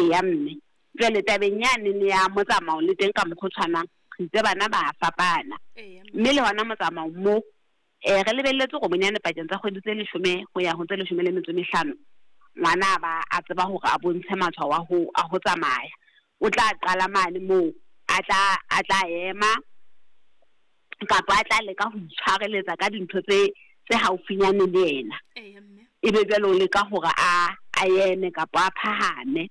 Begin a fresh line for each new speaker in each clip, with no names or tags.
Eya mme. Jwale tabeng yane ya motsamao le teng ka mokgwa o tshwanang, re itse bana ba fapana. Mme le hona motsamao mo re lebelletse hore bonyane pakeng tsa kgwedi tse 10 ho ya ho tse 15, ngwana a ba a tseba hore a bontshe matshwao a ho tsamaya. O tla qala mane moo a tla ema kapa a tla leka ho itshwareletsa ka dintho tse haufinyane le yena. Ebe jwale o leka hore a eme kapa a phahame.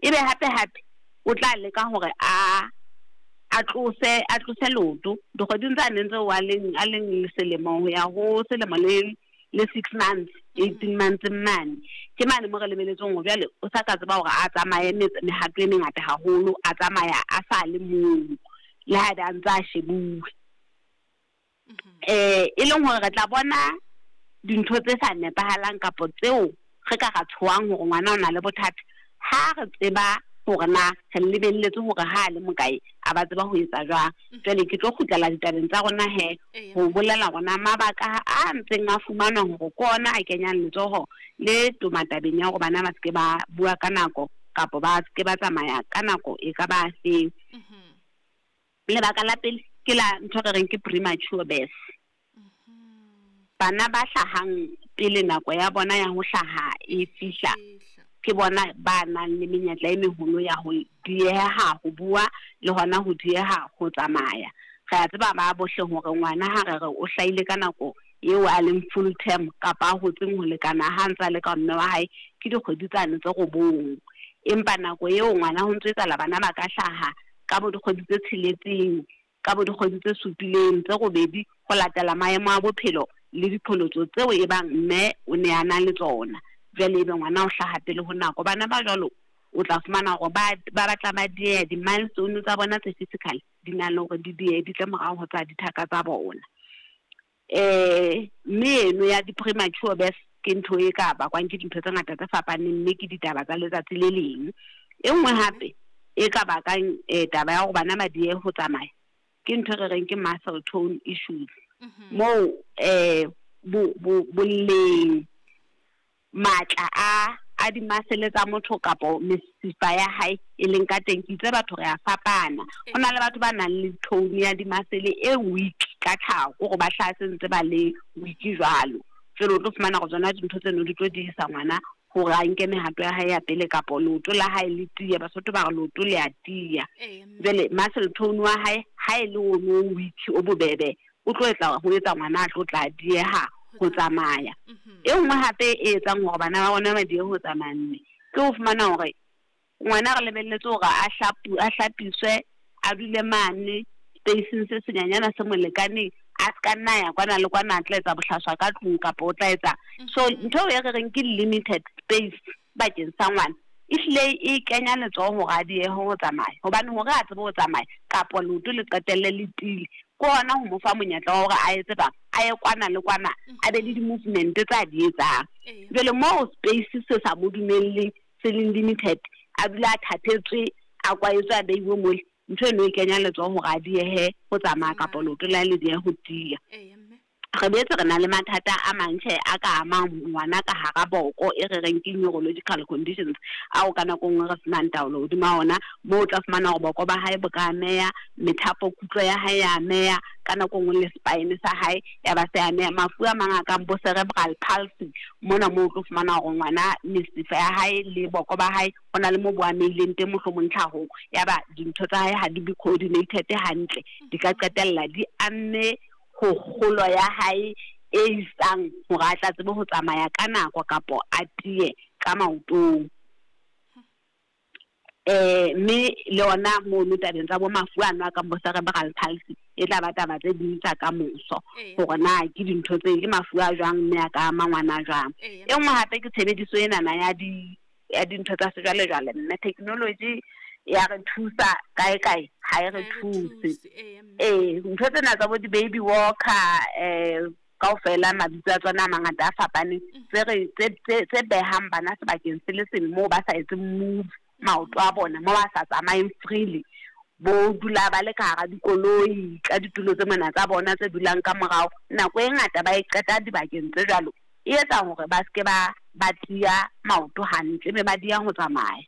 Ebe hape hape o tla leka hore a tlose leoto dikgweding tsa neng tseo a leng selemo ho ya ho selemo le 6 months, 18 months mane. Ke mane mo re lebeletseng hore jwale o sa ka tseba hore a tsamaye mehato e mengata haholo, a tsamaya a sa le mong le ha a ntse a shebuwe. E leng hore re tla bona dintho tse sa nepahalang kapa tseo re ka ra tshohang hore ngwana o na le bothata ha re tseba hore na re lebelletse hore ha a le mokae a ba tseba ho etsa jwang. Jwale ke tlo kgutlela ditabeng tsa rona he ho bolela rona mabaka a ntseng a fumanwa hore ke ona a kenyang letsoho le toma tabeng ya hore bana ba se ke ba bua ka nako kapa ba se ke ba tsamaya ka nako e ka ba feng. Lebaka la pele ke la ntho re reng ke premature birth. Bana ba hlahang pele nako ya bona ya ho hlaha e fihla, ke bona ba nang le menyetla e meholo ya ho dieha ho bua le hona ho dieha ho tsamaya. Re a tseba ba bohle hore ngwana ha re re o hlahile ka nako eo a leng full term kapa a hotseng ho lekana ha ntse a le ka mme wa hae ke dikgwedi tsane tse 9. Empa nako eo ngwana ho ntso etsahala bana ba ka hlaha ka bo dikgwedi tse 6, ka bo dikgwedi tse 7, tse 8 ho latela maemo a bophelo le dipholotso tseo e bang mme o ne a na le tsona. Jwale ebe ngwana o hlaha pele ho nako. Bana ba jwalo o tla fumana hore ba batla ba dieha di-milestone tsa bona tse physical di na le hore di diehe di tle morao ho tsa dithaka tsa bona. Mme eno ya di-premature birth ke ntho e ka bakwang ke dintho tse ngata tse fapaneng, mme ke ditaba tsa letsatsi le leng. E nngwe hape e ka bakang taba ya hore bana ba diehe ho tsamaya ke ntho re reng ke muscle tone issues. Moo boleng matla a di-muscle tsa motho kapa mesifa ya hae e leng ka teng. Ke itse batho re a fapana. Ho na le batho ba nang le tone ya di-muscle e weak ka tlhaho, hore ba hlaha se ntse ba le weak jwalo. Jwale o tlo fumana hore tsona dintho tseno di tlo diehisa ngwana hore a nke mehato ya hae ya pele kapa leoto la hae le tiya. Basotho ba re leoto le a tiya. Jwale muscle tone wa hae ha e le ono weak o bobebe, o tlo etsa ho etsa ngwana a tlo tla dieha ho tsamaya. E nngwe hape e etsang hore bana ba rona ba diehe ho tsamaya mme ke ho fumana hore ngwana re lebelletse hore a hlapiswe, a dule mane spacing se senyanyana se mo lekaneng, a ska nna ya kwana le kwana a tla etsa bohlaswa ka tlung kapa o tla etsa. So ntho e re reng ke limited space bakeng sa ngwana ehlile e kenya letsoho hore a diehe ho tsamaya, hobane hore a tsebe ho tsamaya kapa leoto le qetelle le tiile ke hona ho mo fa monyetla wa hore a etse bang a ye kwana le kwana, a be le di-movement tse a di etsang. Jwale moo space se sa mo dumelleng, se leng limited, a dula a thathetswe, a kwaetswe, a beiwe mole, ntho eno e kenya letsoho hore a diehe ho tsamaya kapa leoto la le diehe ho tiya. Re boetse re na le mathata a mang tjhe a ka amang ngwana ka hara boko e re reng ke neurological conditions, ao ka nako nngwe re senang taolo hodima ona, moo o tla fumana hore boko ba hae bo ka ameha, methapo kutlo ya hae ya ameha, ka nako nngwe le spine sa hae ya ba se ameha. Mafu a mang a kang bo cerebral palsy, mona moo o tlo fumana hore ngwana mesifa ya hae le boko ba hae ho na le mo bo amehileng teng mohlomong tlhahong, ya ba dintho tsa hae ha di be coordinated hantle, di ka qetella di amme ho kgolo ya hae e isang hore a tla tsebe ho tsamaya ka nako kapo a tiye ka maotong. Mme le ona mono tabeng tsa bo mafu ano a kang bo cerebral palsy e tla ba taba tse ding tsa ka moso, hore na ke dintho tse ke mafu a jwang mme a ka ama ngwana jwang. E nngwe hape ke tshebediso enana ya dintho tsa sejwalejwale, mme technology ya re thusa kae kae ha e re thuse. Ntho tsena tsa bo di-baby walker, kaofela mabitso a tsona a mangata a fapaneng, tse behang bana sebakeng se le seng moo ba sa etseng move maoto a bona, moo ba sa tsamayeng freely, bo dula ba le ka hara dikoloi ka ditulo tse mona tsa bona tse dulang ka morao, nako e ngata ba e qeta dibakeng tse jwalo, e etsa hore ba se ke ba tiya maoto hantle mme ba diya ho tsamaya.